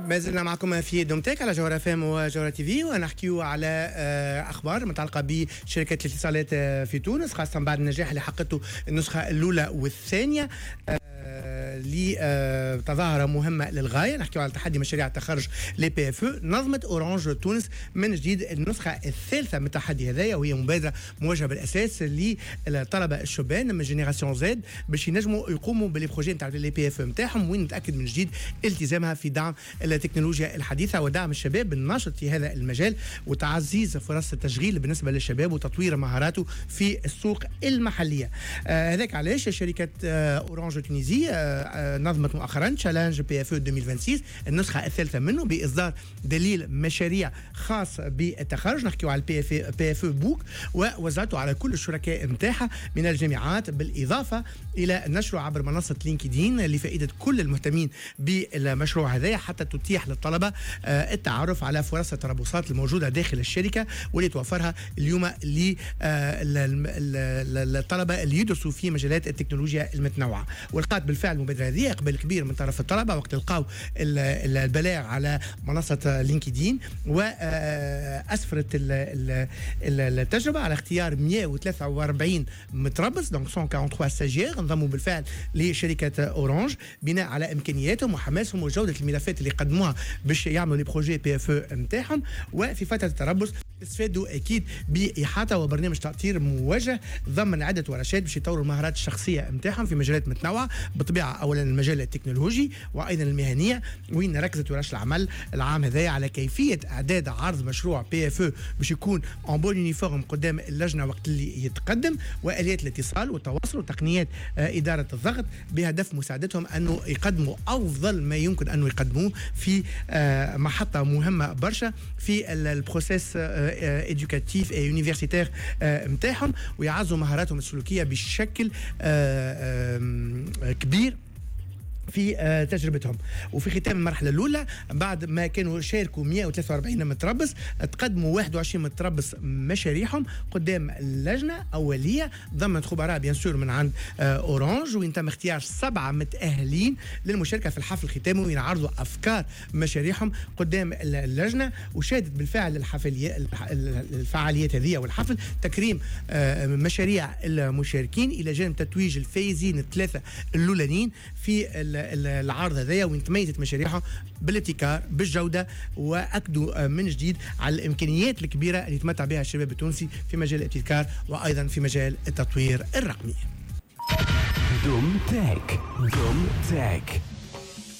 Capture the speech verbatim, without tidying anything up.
ما زلنا معكم في دومتك على جوهرة اف ام وجوهرة تي في، ونحكيو على آه، اخبار متعلقه بشركات الاتصالات آه، في تونس، خاصة بعد النجاح اللي حققته النسخة الاولى والثانية لتظاهرة مهمة للغاية. نحكيو على تحدي مشاريع التخرج les PFE. نظمت اورانج تونس من جديد النسخة الثالثة من التحدي هذايا، وهي مبادرة موجهة بالاساس للطلبة الشبان من génération Z باش ينجموا يقوموا ب les projets نتاع les PFE نتاعهم، وين نتاكد من جديد التزامها في دعم التكنولوجيا الحديثة ودعم الشباب الناشط في هذا المجال وتعزيز فرص التشغيل بالنسبة للشباب وتطوير مهاراته في السوق المحلية. آه، هذاك علاش شركة آه، اورانج Tunisie آه، نظمت مؤخرا challenge PFE ألفين وستة وعشرين، النسخة الثالثة منه، باصدار دليل مشاريع خاص بالتخرج، نحكيو على ال PF PFE book، ووزعته على كل الشركاء نتاعها من الجامعات، بالاضافة الى نشره عبر منصة لينكدين لفائدة كل المهتمين بالمشروع هذا، حتى تتيح للطلبة آه، التعرف على فرص التربصات الموجودة داخل الشركة واللي توفرها اليوم للطلبة اللي يدرسوا في مجالات التكنولوجيا المتنوعه. ولقات بالفعل المبادرة هذه اقبال كبير من طرف الطلبة وقت لقاو البلاغ على منصة لينكدين، واسفرت التجربة على اختيار مية وثلاثة وأربعين متربص، donc مية وثلاثة وأربعين stagiaires، انضموا بالفعل لشركة اورانج بناء على امكانياتهم وحماسهم وجوده الملفات اللي قدموها باش يعملوا les projets PFE نتاعهم. وفي فترة التربص استفادوا اكيد باحاطه وبرنامج تاطير موجه ضمن عده ورشات باش يطوروا المهارات الشخصية نتاعهم في مجالات متنوعة بالطبيعه، اولا المجال التكنولوجي وايضا المهنيه، وين ركزت ورش العمل العام هذايا على كيفية اعداد عرض مشروع PFE باش يكون en bonne forme قدام اللجنة وقت اللي يتقدم، واليات الاتصال والتواصل وتقنيات آه، ادارة الضغط، بهدف مساعدتهم انه يقدموا افضل ما يمكن انه يقدموه في آه، محطة مهمة برشا في ال processus éducatif et universitaire نتاعهم، ويعزوا مهاراتهم السلوكية بشكل آه، كبير في آه، تجربتهم. وفي ختام المرحلة الاولى، بعد ما كانوا شاركوا مية وثلاثة وأربعين متربص، تقدموا واحد وعشرين متربص مشاريعهم قدام اللجنة اوليه ضمنت خبراء bien sûr من عند آه، اورانج، وين تم اختيار سبعة متاهلين للمشاركة في الحفل الختامي، وين عرضوا افكار مشاريعهم قدام اللجنه. وشهدت بالفعل الحفليات الفعاليات هذه والحفل تكريم آه، مشاريع المشاركين، الى جانب تتويج الفايزين الثلاثة الاولانيين في العرض هذايا، وين تميزت مشاريعهم بالابتكار، بالجوده، واكدوا من جديد على الامكانيات الكبيرة اللي يتمتع بها الشباب التونسي في مجال الابتكار وايضا في مجال التطوير الرقمي. دوم تك، دوم تك.